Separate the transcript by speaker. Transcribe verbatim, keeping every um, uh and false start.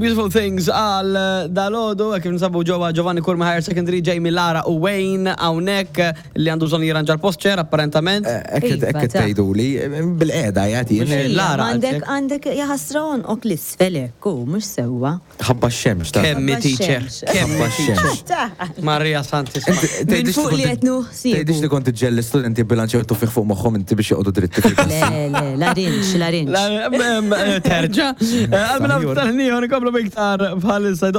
Speaker 1: Beautiful Things għal dalgħodu, kif ninsabu ġewwa Giovanni Curmi Higher Secondary, Jamie, Lara u Wayne hawnhekk li għandu bżonn jirranġa l-posture apparentament.
Speaker 2: Ekk
Speaker 3: Iva,
Speaker 2: ekk
Speaker 3: ta'
Speaker 2: tgħidu li bil-qeda jagħti.
Speaker 1: Mhux Lara,
Speaker 3: Għandek,
Speaker 1: għaltek.
Speaker 3: għandek jaħasra għonqok l-isfel, u mhux sewwa.
Speaker 2: Ħabba x-xemx ta'
Speaker 1: Kemmi
Speaker 3: Ħabba
Speaker 1: teacher,
Speaker 3: x-xemx.
Speaker 1: kemmi
Speaker 2: Ħabba
Speaker 1: teacher.
Speaker 2: x-xemx.
Speaker 1: Maria Santissima.
Speaker 3: Minn fuq li qed nuħsiebu.
Speaker 2: Tgħidix li kont iġġel l-istudenti bilanċew tuffieħ fuq moħħhom inti biex joqogħdu dritti fil-klassi.
Speaker 3: Le, le, larinġ, larinġ.
Speaker 1: Terġa. Għal minna
Speaker 2: Saħjur.
Speaker 1: tal-ħnijon, nkomplu biktar bħalissa.